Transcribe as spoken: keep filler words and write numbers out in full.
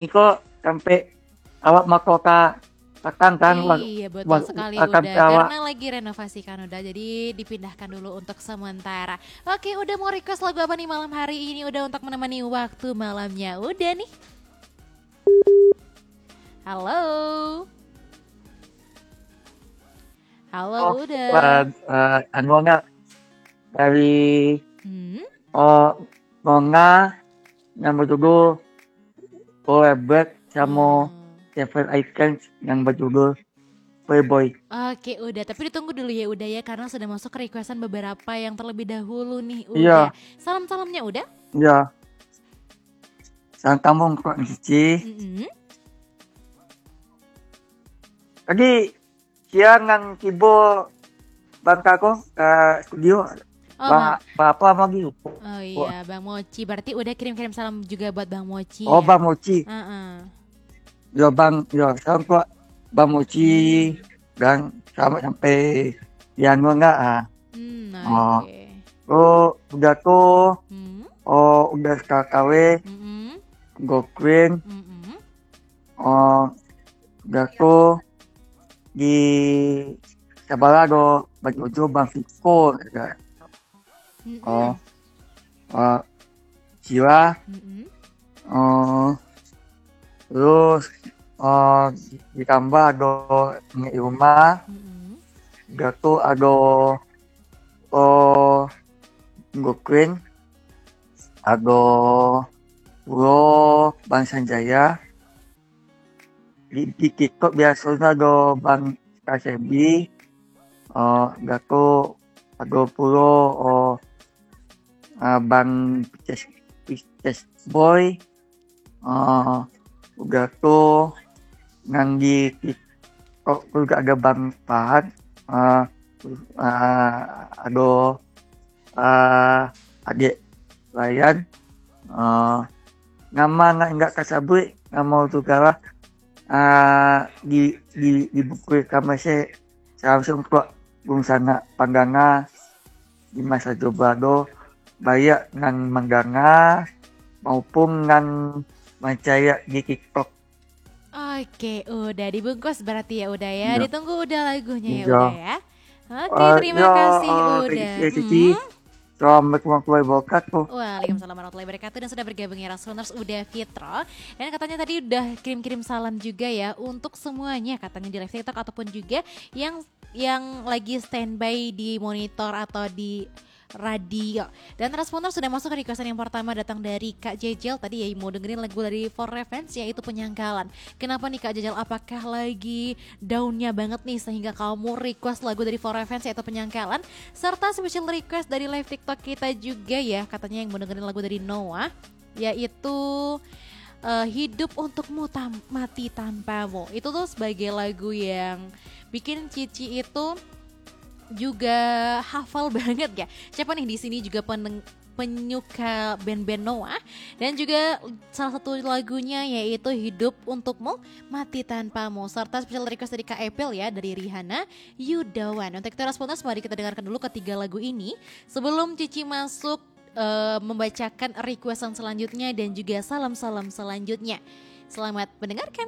iko sampai awak mako ka patang kan, wa-, Iya, betul wa-, sekali, akan Uda. Awak. Karena lagi renovasi kan, Uda. Jadi dipindahkan dulu untuk sementara. Oke, Uda mau request lagu apa nih malam hari ini, Uda, untuk menemani waktu malamnya Uda nih? Halo? Halo, Oh, Uda. eh, eh, anu, Nona, dari, Hmm? oh, Nona yang berjudul Forever sama Hmm. Seven Icons yang berjudul Playboy. Oke, Uda. Tapi ditunggu dulu ya, Uda, ya, karena sudah masuk requestan beberapa yang terlebih dahulu nih, Uda. Iya. Salam-salamnya, Uda. Iya. Salam tambung kok, Cici. Mm-mm. Tadi siang nan tibo Bang Kako ka studio. Oh, Bang, Bang. Bang apa lagi? Oh iya, Bang Moci. Berarti Uda kirim-kirim salam juga buat Bang Moci, Oh, ya? Bang Moci. Heeh. Yo, Bang, yo, salam kok Bang Moci. Dan selamat sampai di anu enggak, ah. Hmm, Oh. oke. Oh, udah tuh. Hmm. Oh, udah sekali kawin. Mm-mm. Go Queen. Mm-mm. Oh, udah tuh di sebelah do Bang Jojo, Bang Fiko, ya. Mm-mm. Oh, eh, Sila. Mm-mm. Oh, terus, eh, ditambah ado Nek Irma. Mm-mm. Udah tuh ado, oh, Go Queen. Ado pulo Bang Sanjaya. Di, di TikTok biasonyo ado Bang Kasebi, eh, Gato, ado pulo, eh, eh, Bang Pices, Pices Boy, eh, Gato, nan di TikTok tu ado Bang Fahad, eh, eh, ado, eh, Adek Rayyan, eh, nama nan indak tasabuik, namo tu kalah, ah, di, di, di buku rekaman se, salam untuak dunsanak pandanga di masa jo barado, baiak nan mandanga maupun nan mancaliak di TikTok. Oke, Uda dibungkus berarti ya, Uda, ya. Iya. Ditunggu Uda lagunya ya, Iya. Uda, ya. Oke, Eh, terima ya, kasih, eh, Uda. Terima kasih, Cici. Hmm. Assalamualaikum warahmatullahi wabarakatuh. Waalaikumsalam warahmatullahi wabarakatuh. Dan sudah bergabung ya, Rasoners, Uda Fitro. Dan katanya tadi udah kirim-kirim salam juga ya untuk semuanya, katanya di live TikTok ataupun juga yang, yang lagi standby di monitor atau di radio. Dan Rasoners, sudah masuk ke requestan yang pertama, datang dari Kak Jejel tadi ya, mau dengerin lagu dari For Revenge, yaitu Penyangkalan. Kenapa nih, Kak Jejel? Apakah lagi down-nya banget nih sehingga kamu request lagu dari For Revenge, yaitu Penyangkalan? Serta special request dari live TikTok kita juga ya, katanya yang mau dengerin lagu dari Noah, yaitu, eh, Hidup Untukmu Tam-, Mati Tanpamu. Itu tuh sebagai lagu yang bikin Cici itu juga hafal banget ya. Siapa nih di sini juga peneng-, penyuka band-band Noah? Dan juga salah satu lagunya yaitu Hidup Untukmu, Mati Tanpamu. Serta special request dari Kak Epil ya, dari Rihanna, You Don't Want. Untuk itu, Rasoners, mari kita dengarkan dulu ketiga lagu ini sebelum Cici masuk, eh, membacakan requestan selanjutnya dan juga salam-salam selanjutnya. Selamat mendengarkan.